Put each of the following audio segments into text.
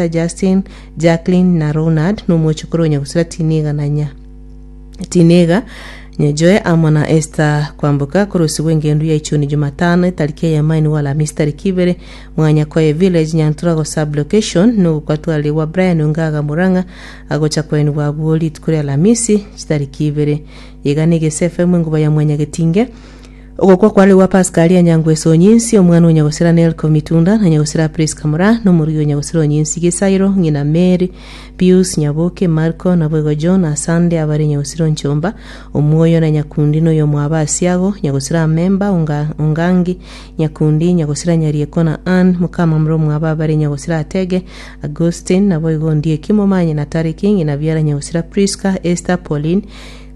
Justin, Jacqueline na Ronald nomochokoro o Nyagusira Tiniga na nya Tiniga Nyajoe amo na Esther Kwamboka korosibwa engendu ya Ichuni Jumatano etariki eyemo ainwe Alamisi tariki ibere Mwanyakoye Village Nyanturago Sub Location nogokwa twarigwa Brian Ongaga Murang'a agocha koenigwa abwo rituko ria Alamisi chitariki ibere Iga negese FM enguba ya Mwanyagetinge Ogokwa kware gwa Pascal Anyangweso Onyinsi, omwana o nyagosira Nelco Mitunda, na nyagosira Prisca Moraa, na omorugi o nyagosira Onyinsi Gesairo, ng'ina Mary, Pius, Nyaboke, Marco, naboigo John, Asande, abare nyagosira Onchomba, Omwoyo na Nyakundi na oyomwabo Asiago, nyagosira Amemba, Onga, Ongangi, Nyakundi, nyagosira Nyarieko na Ann, mokamamura omwabo abare nyagosira Atege, Augustine, naboigo Ondieki Momanyi na Tariki, ng'ina biara nyagosira Prisca, Esther, Pauline,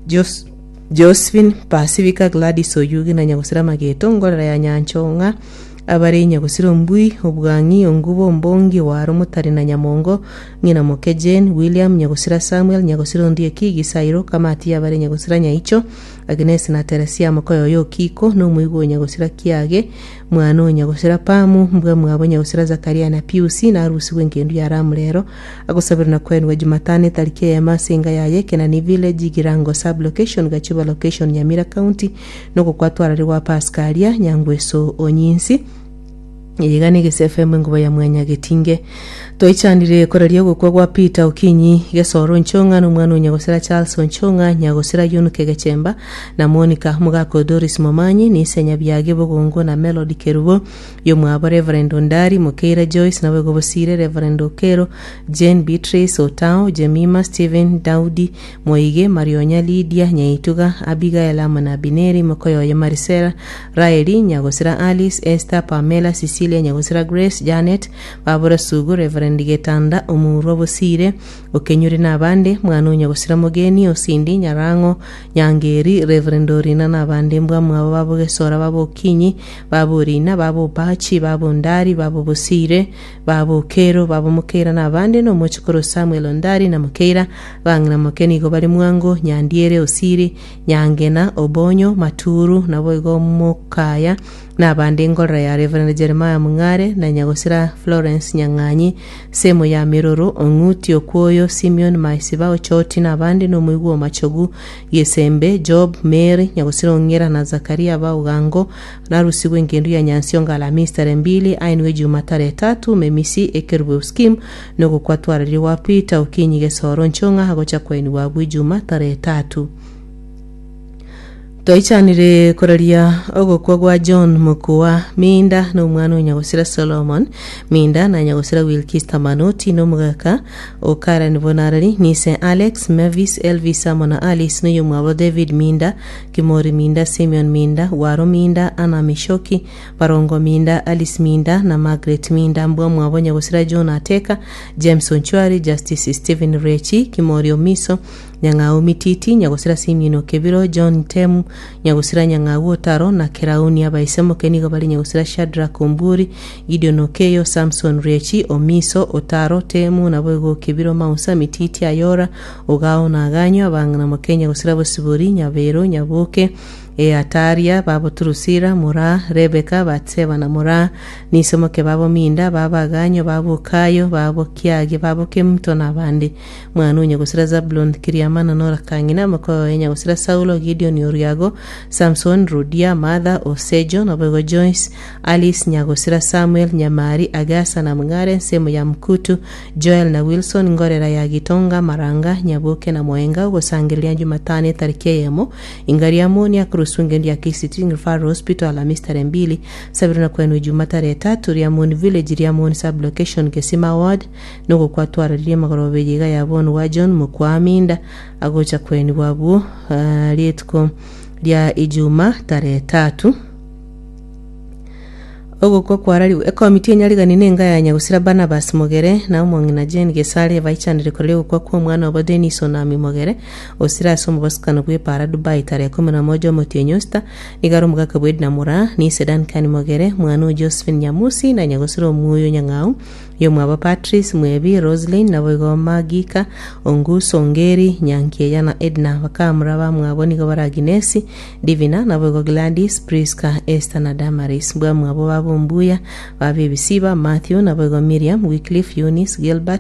Jos, Josephine, Pasifika, Gladys Oyugi na Nyagosira Mageto, Ngorera ya Nyanchong'a, abare Nyagosira Ombui, Obwang'i, Ongubo, Ombongi, Owaro, Motari na Nyamongo, ng'ina moke Jane, William, Nyagosira Samuel, Nyagosira Ondieki, Gisairo, Kamati abare Nyagosira Nyaicho, Agnes na Teresia mokoyoyo Okiko, na omoigwa o Nyagosira Kiage, mwana o Nyagosira Pamu, mbwa mwabo Nyagosira Zakaria na Piusi, na arusigwe engendu ya Ramu rero, Agosaberwa na koenigwa Jumatano etariki eyemo ase enga yaye Kenani Village, Girango Sub-location, Gachuba Location, Nyamira County, nogokwa twarari gwa Pascalia Nyangweso Onyinsi. Eye iga negese FM enguba ya Mwanyagetinge. Toichanire koraria ogokwa gwa Peter Okinyi Gesoro Onchong'a na omwana o Nyagosira Charles Onchong'a, Nyagosira Yunuke Gechemba na Monica Omogaka o Doris Momanyi, Nise Nyabiage Bogongo na Melody Kerubo. Yomwabo Reverend Ondari, Mokeira Joyce, naboigo Bosire, Reverend Okero, Jane Beatrice, Otao, Jemima, Stephen, Daudi, Moige, Marionya, Lydia, Nyaituga, Abigael amo na Abineri, mokoyoye Marisela, Raeli, Nyagosira Alice, Esther, Pamela, Cecilia, Nyagosira Grace, Janet, Babura Sugu, Reverend Getanda, Omurwa Bosire, Okenyuri na abande, mwana o Nyagosira Mogeni, Osindi, Nyarang'o, Nyangeri, Reverend Orina na abande mbwamwabo babogesora babokinyi, Baborina, babobachi, babondari, babobosire, babokero, babomokeira na abande, na omochokoro Samuel Ondari na Mokeira, bang'ina moke nigo bare mwango, Nyandiere, Osiri, Nyangena, Obonyo, Maturu, naboigo Mokaya, na abande engorera ya Reverend Jeremiah Mung'are, na Nyagosira Florence Nyang'anyi, Semo ya Miroro, Ong'uti, Okwoyo, Simeon, Maisiba, Ochoti, na abande, na omoigwa o Machogu, Gesembe, Job, Mary, Nyagosira Ong'era, na Zakaria Baogango, narusigwe engendu ya Nyansiongo Alamisi tarehe mbili, ainwe Juma tarehe tatu, Memisi, Ekerubo Scheme, nogokwa twararia gwa Peter Okinyi Gesoro Nchong'a agocha koenigwa abwo Ijuma tarehe tatu. Twaichanire koraria ogokwa gwa John Mokua Minda na omwana o Nyagosira Solomon Minda na Nyagosira Wilkista Manoti na omogaka o Karen Bonarari nise Alex Mavis Elvis amo na Alice na oyomwabo David Minda Kimori Minda Simeon Minda Waro Minda Anna Mishoki Barongo Minda Alice Minda na Margaret Minda mbwa mwabo Nyagosira John Ateka James Onchwari Justice Stephen Rechi Kimori Omiso Nyang'au Mititi, Nyagosira Simeon Okebiro, John Temu, Nyagosira Nyang'au Otaro, na Kerauni Abaisemoke nigo bare Nyagosira Shadrack Omburi, Gideon Okeyo, Samson Riechi, Omiso, Otaro, Temu, naboigo Okebiro Mausa, Mititi, Ayora, Ogao na Aganyo, abang'ina moke Nyagosira Bosibori, Nyabero, Nyaboke, Eataria, babo Turusira, Moraa, Rebeka, Batseba na Moraa, Nisomoke babo Minda, babo Aganyo, babo Okayo, babo Kiage, babo Kemuto na abande. Mwana o nyagosira Zabulon, Kiriamana na Orakang'ina, moka oye nyagosira Saulo, Gideon Oriago, Samson, Rudia, Martha, Osejo, naboigo Joyce, Alice, nyagosira Samuel, Nyamari, Agasa na Mng'are, ensemo ya Mkutu, Joel na Wilson, Ngorera ya Gitonga, Maranga, Nyaboke na Moenga, ogosangereria Jumatano etariki eyemo, Inga riamoni akoroswa engencho ya KCT Referral Hospital Alamisi tarehe mbili, Sabiro na kwenu Ijuma tarehe tatu, Riamoni Village, Riamoni Sub-Location, Gesima Ward, Nogokwa twararirie amagoroba eye iga ya bono gwa John Mokwaminda agocha kwenigwa abwo rituko ria Ijuma tarehe tatu. Ogokwa kwarariwe ekomiti enyarigani nenga ya nyagusira Barnabas Mogere na omong'ina Jane Gesare baichanire koraria ogokwa kwa omwana obo Dennis Onami Mogere osire ase omobasukano bw'epaara Dubai tarehe kumi na moja omotienyi osita nigo are omogaka bwa Edna Moraa nise Duncan Mogere mwana o Josephine Nyamusi na nyagusira Omuoyo Nyang'au Yomwabo Patrice, Mwebi, Roselyn, naboigo Magika, Onguso, Ongeri, Nyankieya na Edna. Bakamura bamwabo nigo bare Aginesi, Divina, naboigo Gladys, Prisca, Esther na Damaris. Mbwamwabo babo. Ombuya, Baba Ebisiba, Mathew, naboigo Miriam, Wycliffe, Eunice, Gilbert.